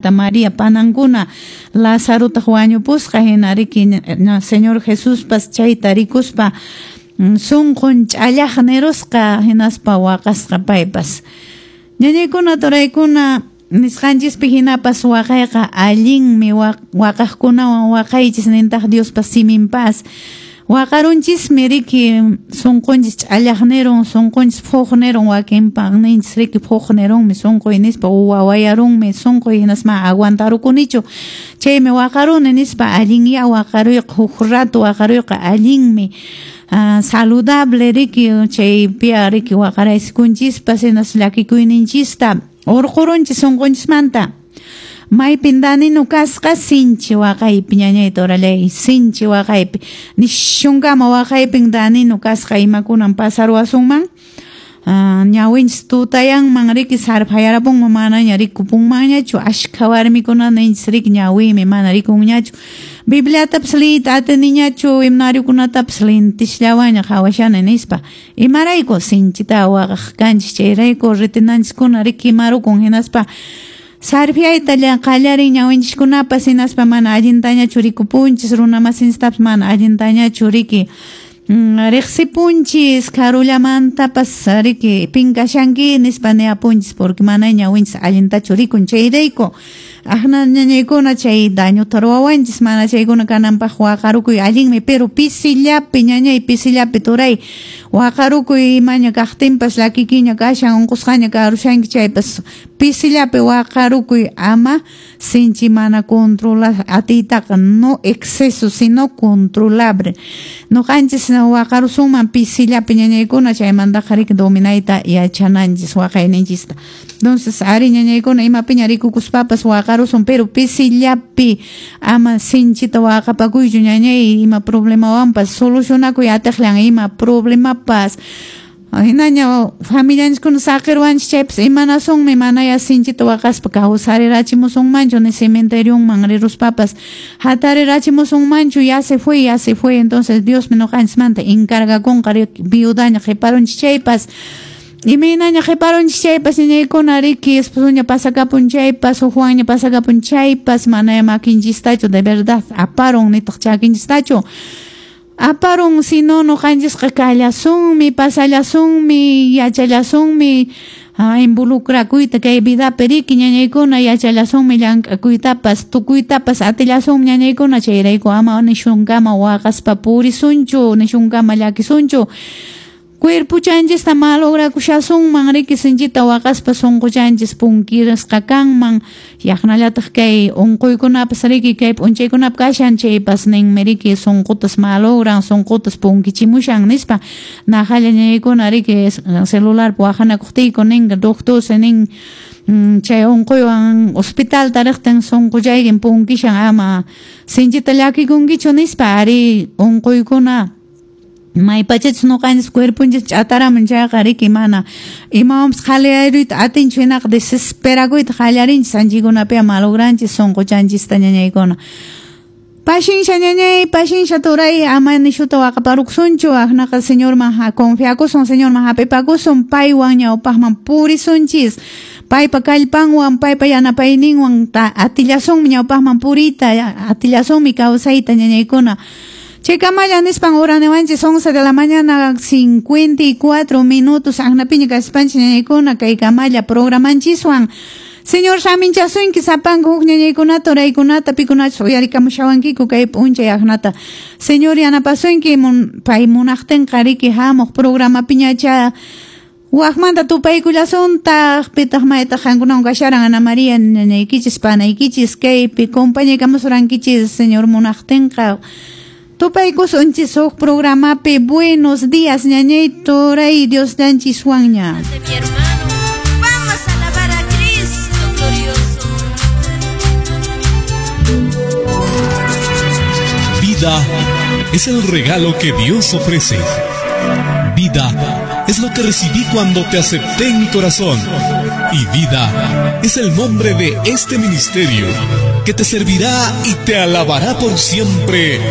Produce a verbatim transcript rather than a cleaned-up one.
María panankuna Lazarotaq wañupusqa hina riki Señor Jesuspas chayta rikuspa sunqun ch'allaq nirusqa hinaspa waqasqa paypas. Ñañaykuna turaykuna nisqanchispi hinapas waqayqa allinmi waqaqkunawan waqaychis nintaq Diospa siminpas. Waqarunchismi riki sunqunchis ch'allaq nirun sunqunchis phuq nirun wakinpaq ninchis riki phuq nirunmi sunquy nispa wawayarunmi sunquy hinasma aguantarukunichu chaymi waqaruni nispa allinya waqaruyqa huk rato waqaruyqa allinmi uh, saludable riki chaypiya riki waqaraykunchispas hinas llakikuyninchista urqurunchis sunqunchismanta. Maypin daninu kasqa sinchi waqaypi ñañayta orallay sinchi waqaypi nishunkama waqaypin daninu kasqa imakunan pasaruwasunman uh, ñawinchis tutayanman riki sarphayarapunman manaña rikupunmanñachu ashkha warmikuna ninchis riki ñawiymi mana rikunñachu Bibliatapas liyta atiniñachu himnariokunatapas lintisllawaña qhawashani nispa imarayku sinchita waqaq kanchis chayrayku retinanchiskuna riki imarukun hinaspa sarfiayta qallarin ñawinchiskunapas hinaspa mana allintañachu rikupunchis runamasinchitapas mana allintañachu riki riqsipunchis karullamantapas riki pinkashanki nispa niapunchis porque mana ñawinchis allintachu rikun chayrayku aqna ñañaykuna chay dañuta ruwawanchis mana chaykuna kananpaq waqarukuy allinmi pero pisillapi ñañay pisillapi turay waqarukuy imaña kaqtinpas llakikiña kashan unqusqaña karushanki chaypas pisillapi waqarukuy ama sinchi mana controlar atiytaqa no exceso sino controlable nuqanchis waqarusunman pisillapi ñañaykuna chaymantaqa riki dominayta yachananchis waqayninchista entonces ari ñañaykuna imapiña rikukuspapas waqarusun pero pisillapi ama sinchita waqapakuychu ñañay ima problemawanpas solucionakuy atiqllan ima problemapas hinaña familianchiskuna saqirwanchis chaypas imanasunmi manaya sinchita waqaspa kawsarirachimusunmanchu ni cementerioman riruspapas hatarirachimusunmanchu ya se fue ya se fue entonces Diosmi nuqanchismanta encargakunqa viudaña qhiparunchis chaypas imaynaña qhiparunchis chaypas ñañaykuna riki esposoña pasakapun chaypas hukwanña pasakapun chaypas manaya makinchistachu de verdad aparun nitaq chakinchistachu aparun sino nuqanchisqa kallasunmi pasallasunmi yachallasunmi involucrakuyta kay vidapi riki ñañaykuna yachallasunmi llank'akuytapas tukuytapas atillasunmi ñañaykuna chayrayku ama nishunkama waqaspa purisunchu nishunkama llakisunchu cuerpochanchista malograkushasunman riki sinchita waqaspa sunquchanchis punkirasqa kanman yaqnallataq kay unquykunapas riki kay p'unchaykunapi kashan chaypas ninmi riki sunqutas malogran sunqutas punkichimushan nispa naqalla ñañaykuna riki celularpi waqanakuqtiyku ninqa doctor nin chay unquywan hospitalta riqtin sunquchaykin punkishan ama sinchita llakikunkichu nispa ari unquykuna maypachachus nuqanchis cuerponchis ch'ataramun chayqa riki mana imawanpas qhaliyaruyta atinchu hinaqa desesperakuyta qallarinchis anchikunapiqa malogranchis sunquchanchista ñañaykuna Pashinsha ñañay pashinsha turay ama nishuta waqaparukusunchu aqnaqa Señorman confiakusun Señorman hap'ipakusun paywan ñawpaqman purisunchis paypa kallpanwan paypa yanapayninwan atillasunmi ñawpaqman puriyta atillasunmi kawsayta ñañaykuna Chaykamalla nispan uraniwanchis once de la mañana cincuenta y cuatro minutos aqnapiña kaspanchis ñañaykuna kaykamalla programanchiswan Señor saminchasunki sapanku huk ñañaykunata uraykunata pikunachus uyarikamushawankiku kay p'unchay aqnata Señor yanapasunki pay munaqtinqa riki hamuq programapiñacha waqmanta tupaykullasuntaq pitaq maytaq qankunawan kasharan Ana María ñañaykichis panaykichis kaypi compañaykamusurankichis Señor munaqtinqa tupaykusunchis huk programapi buenos días ñañay turay Dios llanchiswanña. Mi hermano, vamos a alabar a Cristo glorioso. Vida es el regalo que Dios ofrece. Vida es lo que recibí cuando te acepté en mi corazón. Y vida es el nombre de este ministerio que te servirá y te alabará por siempre.